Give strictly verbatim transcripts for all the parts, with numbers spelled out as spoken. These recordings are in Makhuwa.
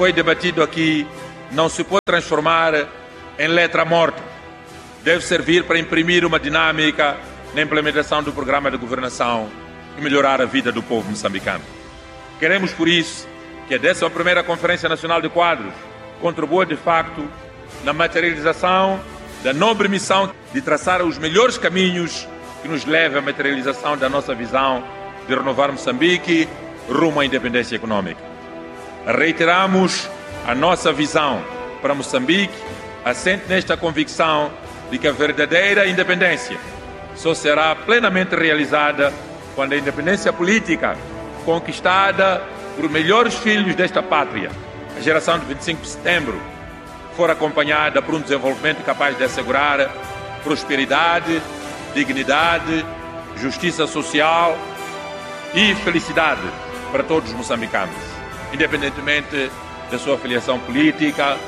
Foi debatido aqui não se pode transformar em letra morta. Deve servir para imprimir uma dinâmica na implementação do programa de governação e melhorar a vida do povo moçambicano. Queremos, por isso, que a décima primeira Conferência Nacional de Quadros contribua, de facto, na materialização da nobre missão de traçar os melhores caminhos que nos leve à materialização da nossa visão de renovar Moçambique rumo à independência econômica. Reiteramos a nossa visão para Moçambique, assente nesta convicção de que a verdadeira independência só será plenamente realizada quando a independência política conquistada por melhores filhos desta pátria, a geração de vinte e cinco de setembro, for acompanhada por um desenvolvimento capaz de assegurar prosperidade, dignidade, justiça social e felicidade para todos os moçambicanos, independentemente da sua filiação política,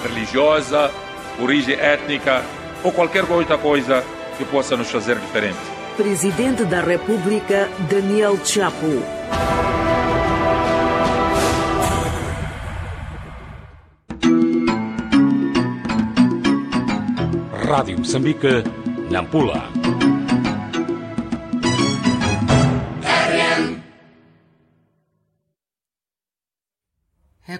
religiosa, origem étnica ou qualquer outra coisa que possa nos fazer diferente. Presidente da República, Daniel Chapo. Rádio Moçambique, Nampula.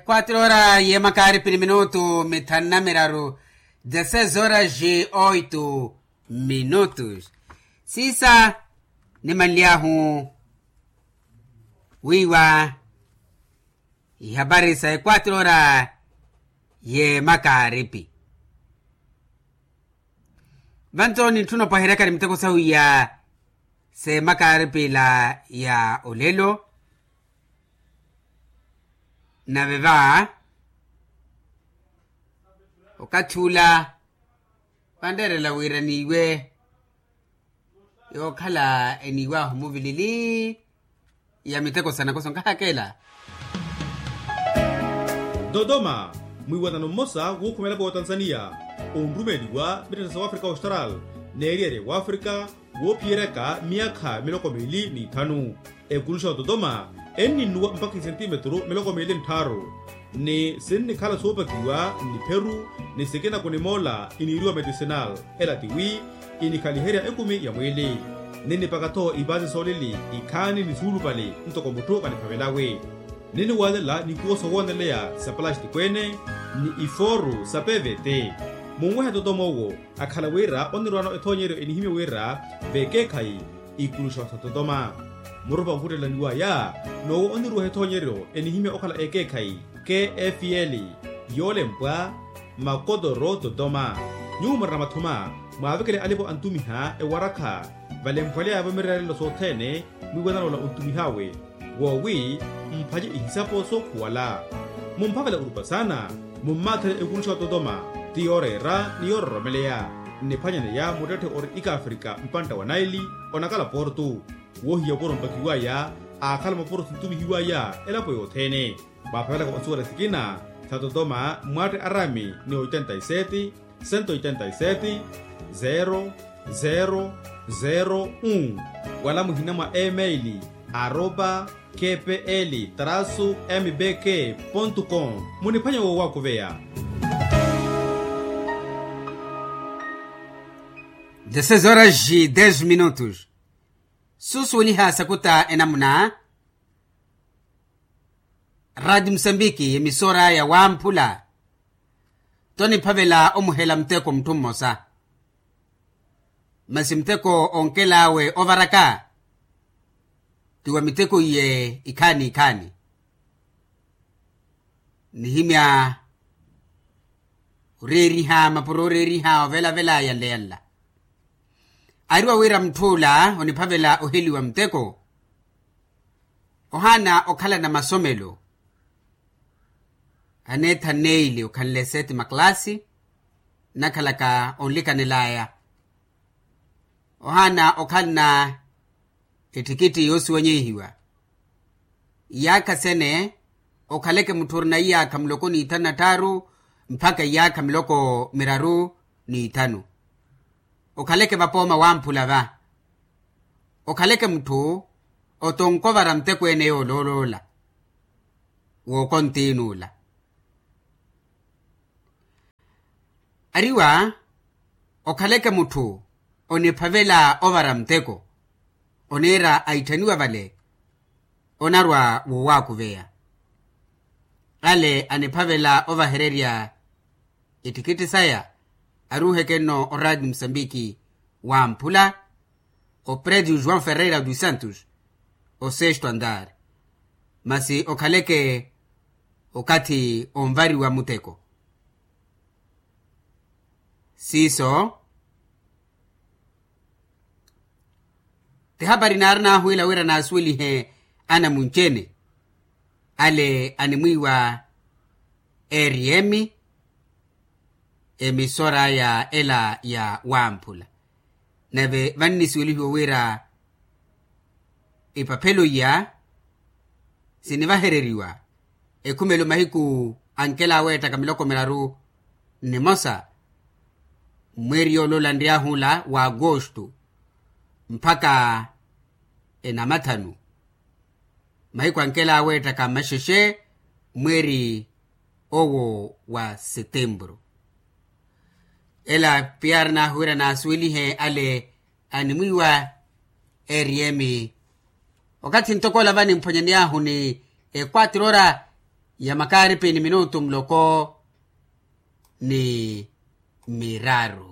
Quatro horas ye makaaripi ni minutu mithanu na miraru, dezesseis horas e oito minutos. Siisa nimanly'ahu wiiwa ihapari sa equatro horas ye makaaripi. Vanto nintthuna opaheryakari miteko sahu ya se makaaripi ila ya olelo. Nave va okathi ula vanreerela wira niiwe yookhala eniiwahu muvilili ya miteko sa nakoso nkahakela. Dodoma, mwiiwanano mmosa wuukhumela vootanzaniya onrumeeliwa mittettha sa wafrika austral n'eriyari ya wafrika woophiyeryaka myaakha miloko miili n'ithanu. Ekuluxa ototoma enninnuwa mpakha isentimetru miloko miili nttharu, ni sinnikhala soopakiwa nnipheru ni sikina kunimoola iniiriwa medicinal. Ela tiwi inikhaliherya ekumi ya mwiili, ninnipaka-tho ipaasi soolili ikhaani ni suulupali ntoko mutthu vaniphavelawe. Ninniwaalela nikuwo sowooneleya sa palastiko-ene ni ifooru sa pvt. Munwehe totoma owo akhala wira onirwaano ethoonyeryo enihimya wira vekeekhayi ikuluxa sa totoma. Murupa onkhuttelaniwaya n'owo oniruweha ethoonyeryo enihimya okhala ekeekhayi kfl yoolempwa makotoro totoma. Nyuwo murina mathuma mwaavekele alipo antumiha ewarakha valemphwaleyavo mireerelo sothene mwiiwanano ola ontumih'awe woowi mphace ihisapo sookhuwala. Mumphavela orupa saana mummaathele ekuluxa ototoma ti yooreera ni yoororomeleya. Nniphwanyaneya muttetthe ori ikafrika mpantta wa naili onakala portu woohiya oporo mpakiwaya aakhala maporo sintumihiwaya elapo yothene. Mwaaphavelaka onsuwela sikina sa totoma mwatte arami ni oitenta y sete, cento oitenta y sete, zero zero zero un wala muhina mwa email aropa kpl trasu mbk pontu com. Muniphwanya woowakuveya. Dezesseis horas e dez minutos. Suusuweliha sakuta enamuna. Radi musambiki emisora ya wamphula. Toniphavela omuhela muteko mutthu mmosa. Masi muteko onkel'awe ovaraka ti wa miteko iye ikhaani ikhaani. Nihimya oreeriha mapuro oreeriha ovelavela yanle yanla. Ariwa wira mutth'ula oniphavela oheliwa muteko. Ohaana okhalana masomelo aneetha nneili okhanle seti maklasi nnakhalaka onlikanel'aya. Ohaana okhalana ettikitti yoosiwanyehiwa. Iyaakha sene okhaleke mutthu orina iyaakha muloko n'ithanu na tthaaru mpakha iyaakha miloko miraru n'ithanu. Okhaleke vapooma wamphula va. Okhaleke mutthu otonkovara muteko ene yoolooloola wookontiin'ula. Ariwa okhaleke mutthu oniphavela ovara muteko, oniira aitthaniwa vale onarwa woowaakuveya. Ale aniphavela ovahererya ettikitthi saya aruuheke nno oraati musambiki wamphula opredio joão ferreira dos santos, osesto andar. Masi okhaleke okathi onvariwa muteko. Siiso ti hapari naarinaahuwela wira naasuwelihe anamunci-ene. Ale animwiiwa eriemi emisora aya ela ya wamphula. Nave vannisuwelihiwa wira ipaphelo iya sinivahereriwa ekhumelo mahiku ankela aweettaka miloko miraru nnimosa, mweeri yooloola nryahu ola wa agosto mpakha enamathanu. Mahiku ankela aweettaka maxexe mweeri owo wa setempuru. Ela piyaari naahuwira naasuwelihe ale animwiiwa eriemi. Okathi ntoko ola vanimphonya niyaahu ni ekwatiro ora ya makaaripi ni minutu muloko ni miraru.